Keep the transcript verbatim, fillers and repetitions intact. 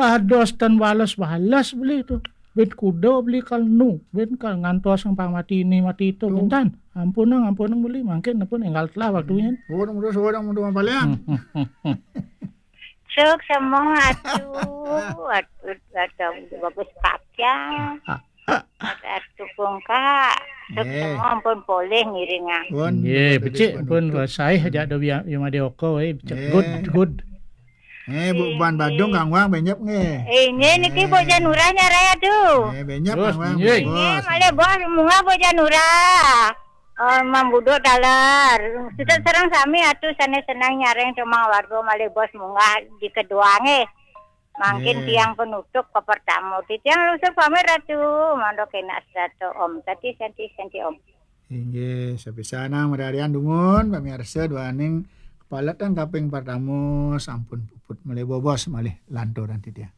Ados tan wales-wales beli tu. Bin kuda beli kal nu, bin kal ngantos yang pamati ini mati itu, Tuh. Bintan. Ampunang, ampunang beli, mangkin pun enggal telah waktunya. Orang muda seorang muda mapalian. Suk semua atuh, atuh, atuh bagus pakaian. Atuh kungka. Suk Eh. Semua ampun poleh ngiringan. Pun Nggih, tadi becik pun penutup. Saya jak ada biar yang ada oko eh, becik. Eh. Good, good. Eh, bu ban Badung Kang Wang benyep nggih. Eh, ini niki Bok Janura nyarai atuh. Eh, benyep Terus, Kang Wang. nggih. Ini malih bos munggah Bok Janura. Oh, mambuduk taler. Kita serang sami atuh sana senang nyareng cuma warga malih bos munggah di kedua nggih. Mangkin Nggih. Tiang penutup ke pertama. Di tiang lusur pamit ratu. Mandok enak serato om. Tati senti senti om. Inggih, sapisanan mararian dumun pamiarsa duaning kepaletan kaping pertama sampun puput malih bobos malih lantur nanti dia.